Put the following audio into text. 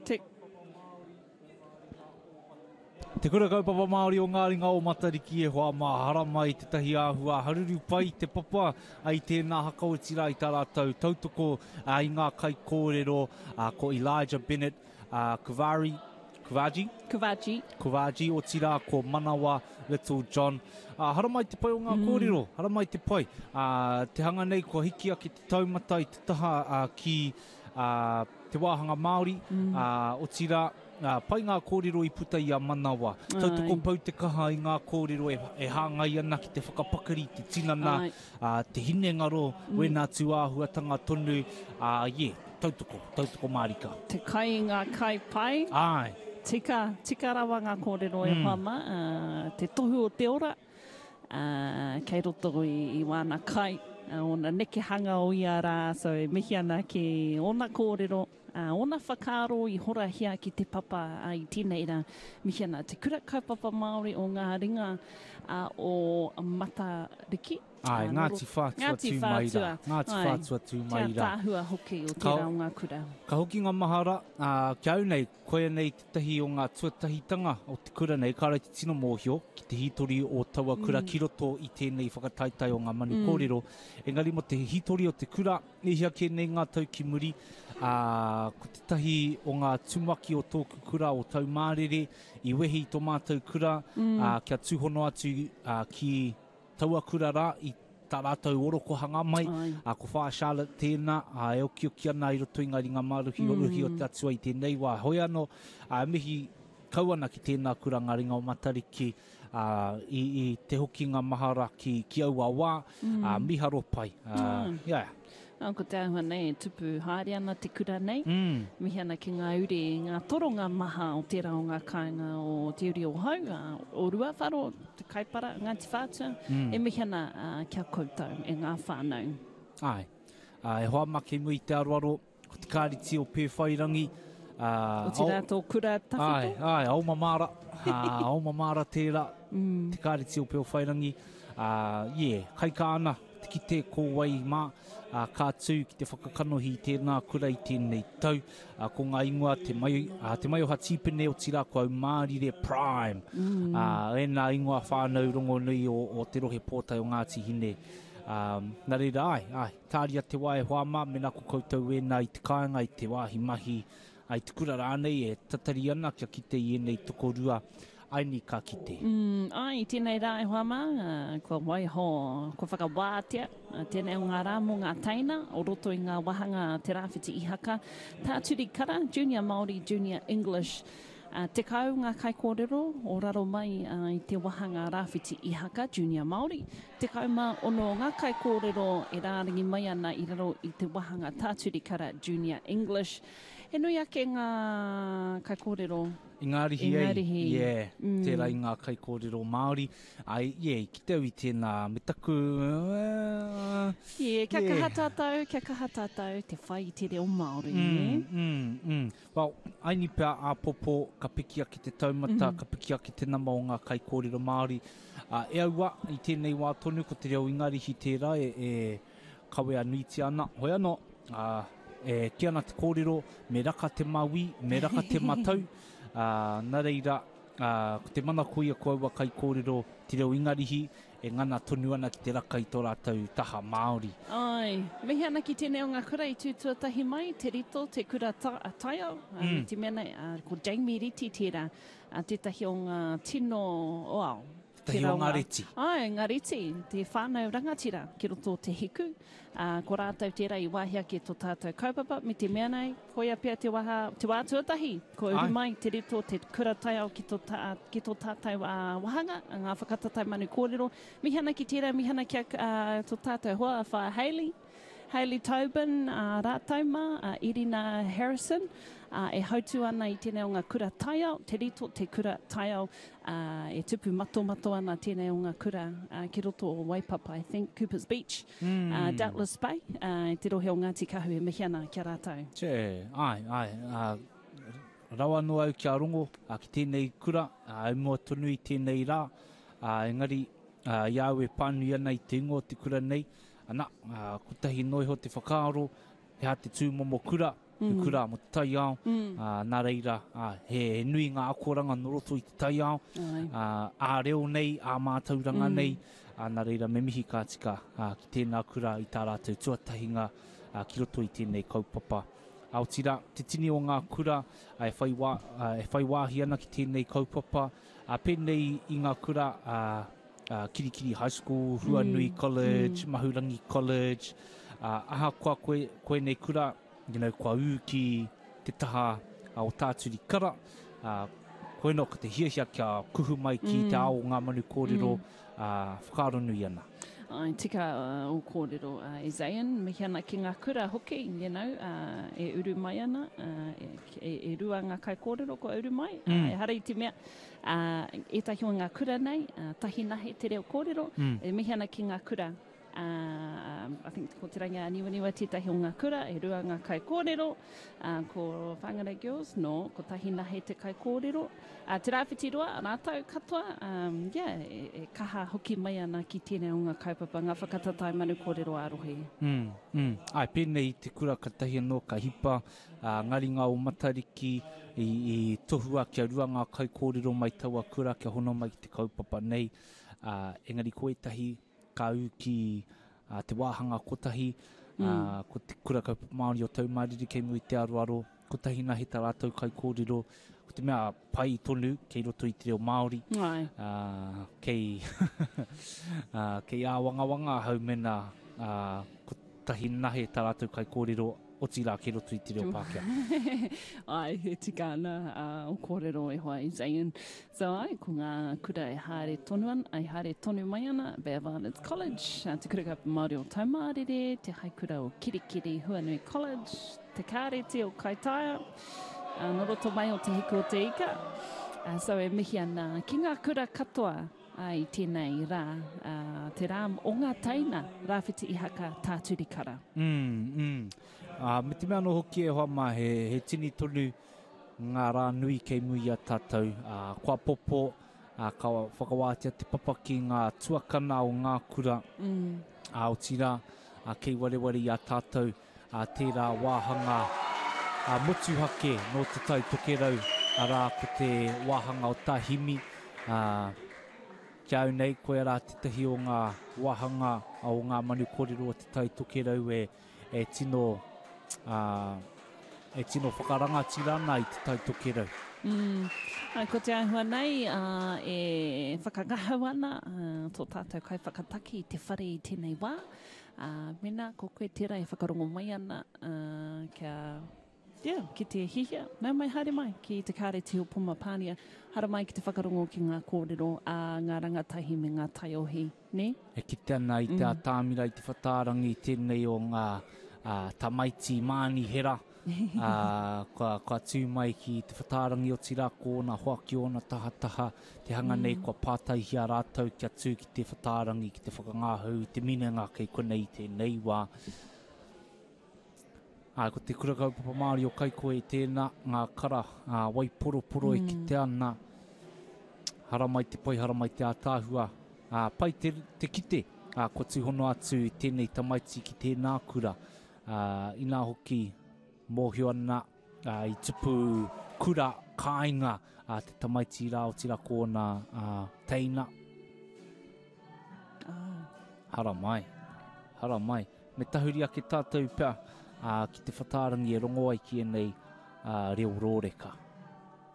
Te. Te Kura Kaupapa Māori o Ngā Ringa o Matariki e hoa mā, haramai tētahi āhua haruru pai te papa i tēnā haka otirā i tā rātou tautoko i ngā kaikōrero ko Elijah Bennett, Kuvari, Kuvaji? Kuvaji. Kuvaji, otirā ko Manawa Little John. Haramai te pai o ngā kōrero, haramai te pai. Te hanga nei kua hiki ake te taumata i te taha ki te wāhanga Māori, otirā, pai ngā kōrero i puta i a Manawa. Tautoko pau te kaha i ngā kōrero e hāngai ana ki te whakapakari i te tinana, te hinengaro, wēnā tū āhuatanga tonu, yeah, tautoko, tautoko mārika. Te kai i ngā kai pai. Āe. Tika, tika rawa ngā kōrero e hoa mā, te tohu o te ora. ā, kei roto i, i wāna kai, ā, ōna nekehanga o ia rā, so e mihi ana ki ōna kōrero, ā, ōna whakaaro i horahia ki te papa, ā, i tēnei rā. Mihi ana Te Kura Kaupapa Māori o Ngā Ringa ā, o Matariki. Āe, Ngāti Whātua tū mai rā. Ngāti Whātua tū mai rā. Te ātaahua hoki o tērā o ngā kura. Ka hoki ngā mahara, ā, ki a au nei, Koia nei tētahi o ngā tuatahitanga o te kura nei, kāore te tino mōhio ki te hītori o taua kura ki roto i tēnei whakataetae o ngā manu kōrero. Engari mō te hītori o te kura, e hia kē nei ngā tau ki muri, ā, ko tētahi o ngā tumuaki o tōku kura o Taumārere i wehi i tō mātou kura, ā, kia tūhono atu, ā, ki taua kura rā i tā rātou orokohanga mai, ā, ko Whaea Charlotte tēnā, ā, e okioki ana i roto i ngā ringa māruhiruhi o te Atua i tēnei wā. Hoi anō, ā, e mihi kau ana ki tēnā kura ngā ringa o Matariki, ā, i, i te hokinga mahara ki, ki aua wā, ā, mīharo pai, ā, yeah. Ā, ko te āhua nei e tupu haere ana te kura nei, mihi ana ki ngā uri, ngā toronga maha o tērā o ngā kāinga o Te Uri o Hau, ā, o Ruawharo, Te Kaipara, Ngāti Whātua, e mihi ana ki a koutou e ngā whānau. Āe. Ā, e hoa mā kei mua i te aroaro, ko te kāriti o Pēwhairangi, ā, Otirā tō kura tawhito? Āe, āe, Aomamara, ā, Aomamara tērā, te kāriti o Pēwhairangi, ā, yeah, kaikā ana. Te kite ko wai mā, ā, ka tū ki te whakakanohi i tēnā kura i tēnei tau. Ā, ko ngā ingoa Te Mai, ā, Te Maioha Tīpene, otirā ko Aumārire Prime. Ā, ēnā ingoa whānau rongonui o, o te rohe pōtae o Ngāti Hine. Ā, nā reira, āe, āe, tāria te wā e hoa mā, mēnā ko koutou ēnā i te kāinga, i te wāhi mahi, ā, i te kura rānei e tatari ana kia kite i ēnei tokorua Aini ka kite. Mm, āe, i tēnei rā e hoa mā, kua waiho, kua whakawātea tēnei o ngā rā mō ngā teina o roto i ngā wāhanga Te Rāwhiti Ihaka, Tā Turi Kara, Junior Māori, Junior English. 10 ngā kaikōrero o raro mai i te wāhanga Rāwhiti Ihaka, Junior Māori, 16 ngā kaikōrero e rārangi mai ana i raro i te wāhanga Tā Turi Kara, Junior English. He nui ake ngā kaikōrero. Ingarihi, ei, yeah, tērā i ngā kaikōrero Māori. Ai, yeah, i kite au i tēnā, me taku, uh, Yeah, kia kaha tātou, kia kaha tātou te whai i te reo Māori, mm, mm, mm. Well, aini pea āpōpō ka piki ake te taumata, ka piki ake te nama o ngā kaikōrero Māori. Uh, e aua, i tēnei wā tonu, ko te reo Ingarihi tērā e, e kawea nuitia ana. Hoi anō, ā, e kī ana te kōrero, me raka te mauī, me raka te matau, ā, nā reira, ā, ko te manako ia ko aua kaikōrero te reo Ingarihi e ngana tonu ana ki te raka i tō rātou taha Māori. Āe, mihi ana ki tēnei o ngā kura i tū tuatahi mai, Te Rito, Te Kura Taiao, ā, me te mea nei, ā, ko Jamie Riti tērā, ā, tētahi o ngā tino o ao, Tētahi o ngā reti. Āe, ngā reti, te whānau rangatira ki roto o Te Hiku. Ā, ko rātou tērā i wāhi ake tō tātou kaupapa, me te mea nei, koia pea te waha, te wā tuatahi, kua uru mai Te Rito, te kura taiao ki tō tā, ki tō tātou ā, wāhanga, ngā whakatatau manu kōrero. Mihi ana ki tērā, mihi ana ki a, ā, tō tātou hoa, a Whaea Hayley. Hayley Tobin, ā, rātou mā, a Irina Harrison, ā, e hautū ana i tēnei o ngā kura taiao, Te Rito, te kura taiao, ā, e tupu matomato ana tēnei o ngā kura, ā, ki roto o Waipapa, I think, Coopers Beach, ā, Doubtless Bay, ā, i te rohe o Ngāti Kahu e mihi ana ki a rātou. Tē, āe, āe, ā, rawa noa au kia rongo, ā, ki tēnei kura, ā, i mua tonu i tēnei rā, ā, engari, ā, i a au e pānui ana i te ingoa o te kura nei, Ana, kotahi noa iho te whakaaro, he aha te tūmomo kura, he kura mō te taiao, ā, nā reira, ā, he, he nui ngā akoranga nō roto i te taiao, ā, ā-reo nei, ā-mātauranga nei, ā, nā reira me mihi ka tika, ā, ki tēnā kura i tā rātou tuatahinga, ā, ki roto i tēnei kaupapa. Ā, otirā, te tini o ngā kura, ā, e whai wā, ā, e whai wāhi ana ki tēnei kaupapa, ā, pēnei i ngā kura, ā, ā, Kirikiri High School, Huanui College, Mahurangi College, ā, ahakoa koe, koenei kura, you know, kua ū ki te taha o Tāturi Kara, ā, koinā ko te hiahia kia kuhu mai ki te ao o ngā manu kōrero, ā, whakaaro nui ana. Āe, tika ō kōrero, e Zayn, mihi ana ki ngā kura hoki, you know, e uru mai ana, e rua ngā kaikōrero kua uru mai, ehara i te mea, ētahi o ngā kura nei, tahi nahe te reo kōrero, e mihi ana ki ngā kura, I think ko Te Rangiāniwaniwa tētahi o ngā kura, e rua ngā kaikōrero, ko Whangarei Girls, no, kotahi nahe te kaikōrero. Te Rāwhiti Roa, rātou katoa, yeah, e kaha hoki mai ana ki tēnei o ngā kaupapa, ngā whakatatae manu kōrero ā-rohe. Mm, mm. Āe, pēnei i te kura katahi anō ka hipa, ngā ringa o Matariki i, i tohua kia rua ngā kaikōrero mai taua kura kia hono mai ki te kaupapa nei, engari ko ētahi, ka ū ki te wāhanga kotahi, ko te Kura Kaupapa Māori o Taumāriri kei mua i te aroaro, kotahi nahe tā rātou kaikōrero, ko te mea pai tonu kei roto i te reo Māori, kei, kei āwangawanga ahau mēnā kotahi nahe tā rātou kaikōrero, otirā kei roto i te reo Pākehā. Āe, e tika ana ō kōrero e hoa e Zayn. So āe, ko ngā kura e haere tonu ana, e haere tonu mai ana, Bay of Islands College, Te Kura Kaupapa Māori o Taumārere, Te Haikura o Kirikiri, Huanui College, Te Kāreti o Kaitaia, nō roto mai o Te Hiku o Te Ika. So e mihi ana ki ngā kura katoa i tēnei rā, te rā o ngā teina, Rāwhiti Ihaka, Tāturi Kara. Mm, mm. Me te mea anō hoki e hoa mā, he, he tini tonu ngā rā nui kei muri i a tātou. Kua popo, ka whakawātea te papa ki ngā tuakana o ngā kura, ā, otirā, kei wareware i a tātou tērā wāhanga motuhake nō Te Tai Tokerau, arā, ko te wāhanga o Tāhimi. Ki a au nei, koia rā tētahi o ngā wāhanga o ngā manu kōrero o Te Tai Tokerau e e tino, ā, e tino whakarangatira ana i Te Tai Tokerau. Mm. Ai, ko te āhua nei, ā, e whakangahau ana tō tātou kaiwhakataki i te whare i tēnei wā. Ā, mēnā ko koe tērā e whakarongo mai ana, ā, kia, yeah, ki te hihia, nau mai haere mai ki te Kāreti o Poma Pānia, haramai ki te whakarongo ki ngā kōrero a ngā rangatahi me ngā taiohi. Nē? E kite ana i te atamira, i te whatārangi tēnei o ngā tamaiti mānihera, kua, kua tū mai ki te whatārangi otirā ko ōna hoa ki ōna tahataha, te hanga nei kua pātaihia rātou kia tū ki te whatārangi, ki te whakangāhau i te minenga kei konei i tēnei wā. Ā, ko te Kura Kaupapa Māori o Kaikohe tēnā, ngā kara, ā, waiporoporo e kitea ana, haramai te pai, haramai te ātaahua, ā, pai te, te kite, ā, kua tūhono atu tēnei tamaiti ki tēnā kura, ā, inā hoki, mōhio ana, ā, i tupu kura kāinga ā, te tamaiti rā, otirā ko ōna, ā, teina. Haramai, haramai. Me tahuri ake tātou pea ki te whatārangi e rongo ai ki ēnei reo rōreka.